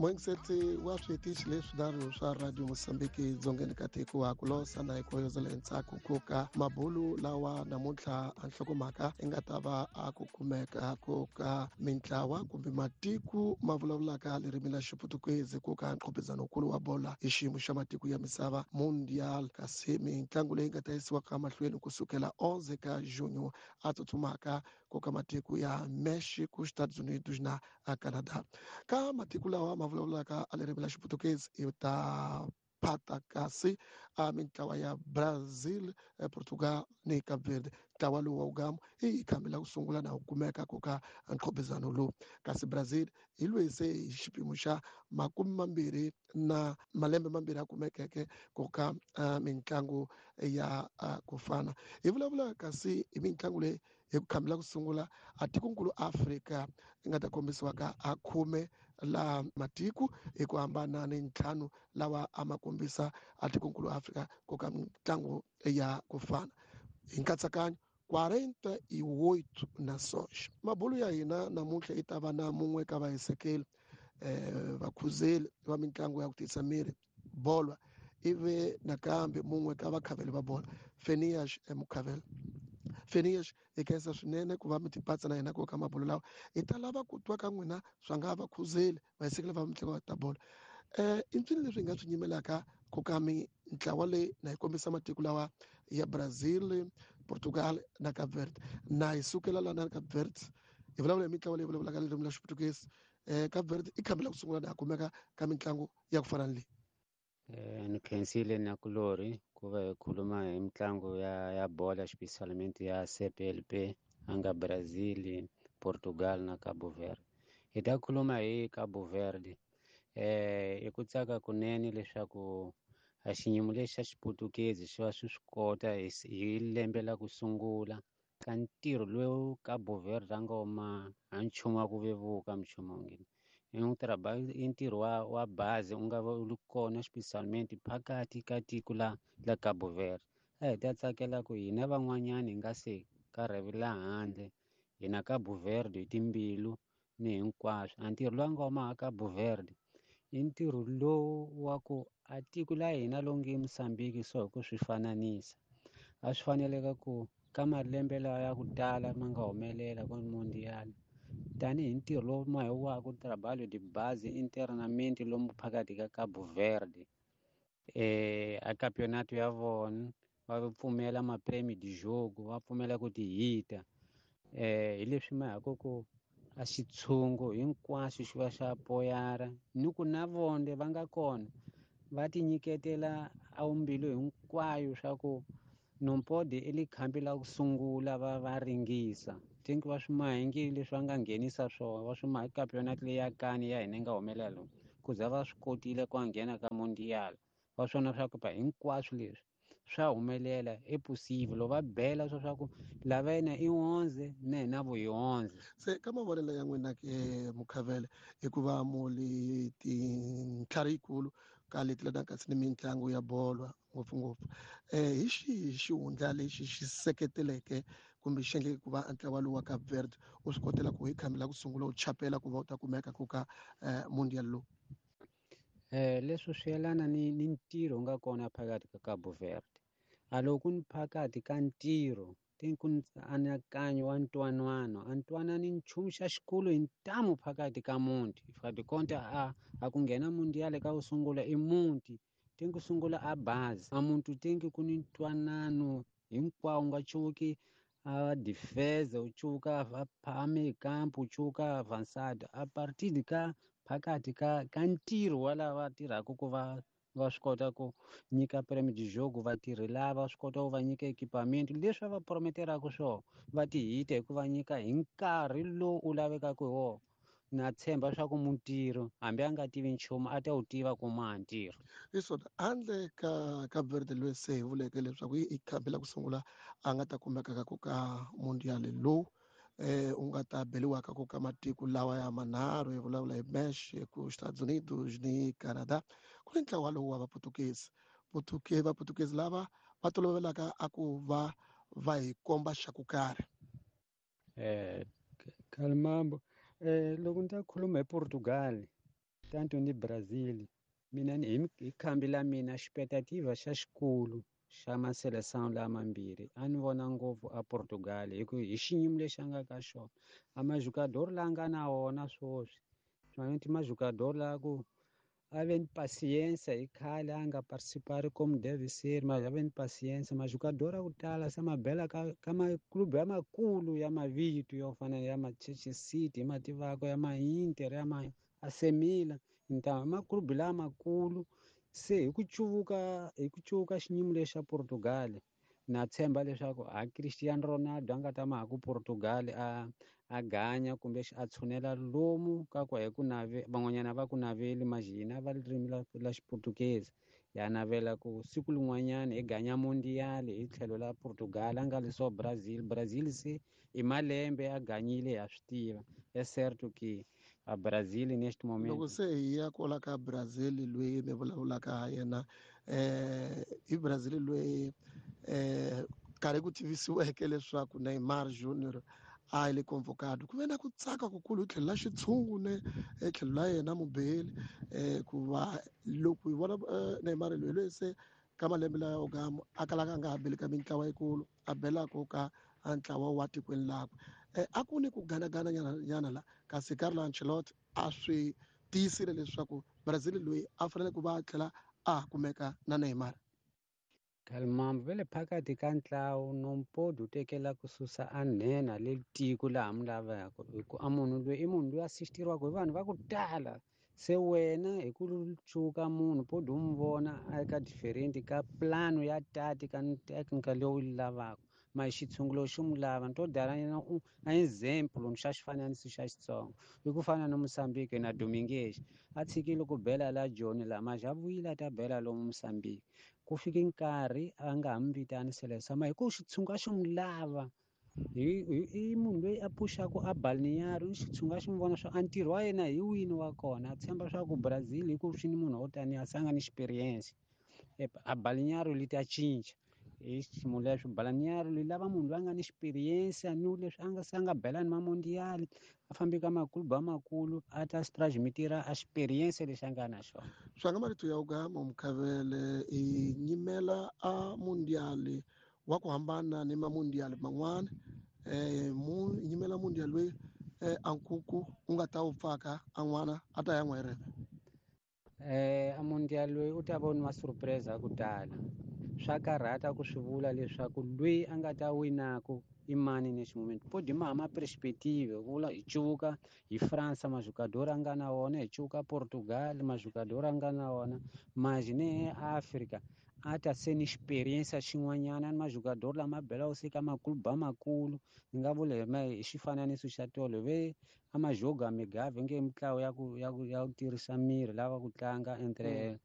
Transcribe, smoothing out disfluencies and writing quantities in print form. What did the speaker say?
Moyingiseti wa switichi leswinharhu swa Radio Mosambiki dzongeni ka tiko wa ku losa na hi koyozela entshaku ku ka mabulu lawa namuntlha a nhlokomhaka yi nga ta va a ku kumeka ku ka mintlawa kumbe matiko ma vulavulaka ririmi la Xiputukezi ku ka nqhopizanokulu wa bola hi xiyimo xa matiko ya misava Mundial, kasi mitlangu leyi nga ta yisiwaka mahlweni kusukela 11 ka junho a tsutsumaka ku ka matiko ya Mexico, Estados Unidos na Canada. Ka matiko lawa ma vulavulaka a ririmi la Xiputukezi i ta phata kasi a mintlawa ya Brazil, Portugal ni Cape Verde. Ntlawa lowu wa wugamu i khambi la ku sungula na wu kumeka ku ka nqhopizano lowu, kasi Brazil hi loyi se hi xipimo xa 20 na malembe mambirhi a kumekeke ku ka mitlangu ya ku fana. Hi vulavula kasi hi mitlangu leyi hi ku khambela ku sungula a tikonkulu Afrika yi nga ta kombisiwa ka a 10 la matiko hi ku hambana ni 5 lawa a ma kombisa a tikonkulu Afrika ku ka mitlangu ya ku fana. Hi nkatsakanyo 48 nações. Mabulu ya hina namuntlha yi ta va na mun'we ka vahisekeli, vakhuzeli va mitlangu ya ku tiyisa miri bolwa, ivi nakambe mun'we ka vakhaveli va bola Fenias Mukhavela. Fenias, hi khensa swinene ku va mi tipatsa na hina ku ka mabulu lawa. Hi ta lava ku twa ka n'wina swa nga vakhuzeli vahisekeli va mitlangu ta bola. I mpfini leswi hi nga swi nyimelaka ku ka mintlawa leyi na yi kombisa matiko lawa ya Brazil, Portugal na Cape Verde. Na hi sukela la na Cape Verde hi vulavula hi mitlawa leyi vulavulaka ririmi ra Xiputukezi. Cape Verde i khambi la ku sungula na ha kumeka ka mitlangu ya ku fana ni leyi. Ni khensile na kulori ku va hi khuluma hi mitlangu ya bola spesialmente ya CPLP a nga Brazil, Portugal na Cabo Verde. Hi ta khuluma hi Cabo Verde. I ku tsaka kunene leswaku a xiyimo lexi xa Xiputukezi xi va swi swi kota hi lembe la ku sungula ka ntirho lowu Cabo Verde a nga wuma a nchumu wa ku vevuka minchumu ngini. I i ntirho wa bazi u nga va u ri kona spesialmente phakathi ka tiko la Cabo Verde. A hi ta tsakela ku hina van'wanyani hi nga se ka rhavi la handle hina Cabo Verde hi timbilu ni hinkwaswo. A ntirho lowu a nga wuma a Cabo Verde i ntirho lowu wa ku a tiko la hina lowu nge Mozambique so hi ku swi fananisa a swi faneleka ku ka malembe lawa ya ku tala ma nga humelela ku mundial tanihi ntirho lowu ma hi wa ku trabalho de base internamente lomu phakathi ka Cabo Verde. A campeonato ya vona va pfumela ma prêmio de jogo, va pfumela ku ti hita. Hi leswi ma ha ku a xitshungu hinkwaswo xi va xa poyara ni ku na vonde va nga kona va ti nyiketela a mbilu hinkwayo swa ku non pode i li khambi la ku sungula va ringisa. Think va swi mahingile leswi va nga nghenisa swona, va swi mahi campeonato leyi ya kani ya hina yi nga humelela lomu, ku za va swi kotile ku nghena ka mundial. Va swona swa ku hinkwaswo leswi swa humelela i possible loko va bela swa ku lava yena i 11 na hina vo hi 11. Se ka mavonelo ya n'wina ke Mukhavele, hikuva muli tintlhari yikulu ka leti leti kasi ni mitlangu ya bolo ngopfungopfu, hi xihi xihundla lexi xi seketeleke kumbe xi endleke ku va ntlawa lowu wa Cape Verde u swi kotela ku hi khambi la ku sungula u chapela ku va u ta kumeka ku ka mundial lowu? Leswi swi yelana ni ntirho wu nga kona phakathi ka Cabo Verde. A loko ku ni phakathi ka ntirho ti ku anakanyo wa ntwanano, a ntwanani nchumu xa xikulu hi ntamu phakathi ka muti. If a ti konta a ku nghena mundial ka ku sungula i muti, ti ku sungula a bazi. A muntu tingi ku ni ntwanano hinkwawo nga cuki a defense, u cuka a phame campo, u cuka avançado. A partir de ka phakathi ka ntirho wa lava tirhaka ku va swi kota ku nyika prêmio de jogo vatirhi lava swi kota ku va nyika equipamento leswi va prometeraka swona va ti hita hi ku va nyika hi nkarhi lowu u lavekaka hi wona. Na tshemba leswaku mutirhi hambi a nga tivi nchumu a ta wu tiva ku maha ntirho. Hi swona handle ka Cape Verde loyi se hi vuleke leswaku i khambi la ku sungula a nga ta kumeka ka ku ka mundial lowu u nga ta beliwaka ku ka matiko lawa ya manharhu, hi vulavula hi Mexico, Estados Unidos ni Canada. Ku ni ntlawa lowu wa Vaputukezi. Vaputukezi lava va tolovelaka a ku va hi komba xa ku karhi. Kalimambo, loko ni ta khuluma hi Portugal, Tanto ni Brazil mina ni hi khambi la mina expectativa xa xikulu xa maseleção lamambirhi a ni vona ngopfu a Portugal hi ku hi xiyimo lexi a nga ka xona a majogador la nga na wona swoswi swaneti majogador la ku a ve ni paciência hi khale a nga participari como deve ser, mas a ve ni paciência. Majogador a ku tala se ma bela ka maklube ya makulu ya mavito yo fana ya Manchester City hi ma tivaka, ya ma-Inter, ya ma AC Milan. Então maklube lamakulu se hi ku cuvuka xiyimo lexi xa Portugal, na tshemba leswaku a Cristiano Ronaldo a nga ta ma ha ku Portugal a ganya kumbe a tshunela lomu ka ku hi ku nave van'wanyana va ku naveli majina va ririmi la Xiportuguese ya navela ku siku lin'wanyana hi ganya mundial hi tlhelo la Portugal a nga li so Brazil. Brazil se i malembe a ganyile ha swi tiva, é certo que a Brazil neste momento. Loko se hi ya kwala ka Brazil loyi mi vulavulaka ha yena, i Brazil loyi karhi ku tivisiweke leswaku Neymar Junior a le convocado, ku ve na ku tsaka kukulu hi tlhelo la xitshungu ne hi tlhelo la yena mubeli, ku va loko hi vona Neymar loyi se ka malembe lawa yo a kalaka a nga ha beli ka mintlawa yikulu, a belaka ka ntlawa wa tikweni lakwe. A ku ni ku ganagana nyana la, kasi Carlo Ancelotti a swi tiyisile leswaku Brazil loyi a fanele ku va a tlhela a kumeka na Neymar. Kalmambo ve le phakathi ka ntlawu nompodi u tekela ku susa a nhenha le tiko laha mi lavaka, hi ku a munhu loyi i munhu loyi a assistiriwaka hi vanhu va ku tala. Se wena hi ku cuka munhu podi u n'wi vona a ka different ka plano ya tactica ni technical leyi u yi lavaka, ma xitshungulo xi n'wi lava. Ni to dala nyana a example ni xa xifananiso xa Xitsonga i ku fana na Mozambique na Dominguez a tshikile ku bela la Joni la maja a vuyile a ta bela lomu Mozambique, ku fike nkarhi a nga ha mi vitani Seleção, ma hi ku xitshungu a xi n'wi lava. I munhu loyi a puxaka a balneário, i xitshungu a xi n'wi vona swa a ntirho wa yena hi wini wa kona, a tshemba swa ku Brazil hi ku swi ni munhu wo taniya se a nga ni experience a balneário li ta cinca hi xiyimo lexo. Balneário li lava munhu loyi a nga ni experience ni leswi a nga se a nga bela ni mamondial, a fambi ka maklubu amakulu a ta transmitira a experience lexi a nga na xona. Swa nga marito ya ugama Mkhavele i nyimela a mundial wa ku hambana ni mamundial man'wana, mu nyimela mundial loyi a nkuku u nga ta wu pfaka a n'wana a ta ya n'wa hi reve. A mundial loyi u ta voniwa surprise ku tala. Swa karhata ku swi vula leswaku loyi a nga ta winaku i mani next moment. Podi ma hama perspective vula hi cuvuka hi France majogador a nga na wona, hi cuvuka Portugal majogador a nga na wona, maji ne Africa a ta se ni experience xin'wanyana ni majogador lama belaka se ka maklubu amakulu. Ni nga vula hi xifananiso xa tolo ve a majogo a migave nge mitlawa ya ku tirhisa miri lava ku tlanga entre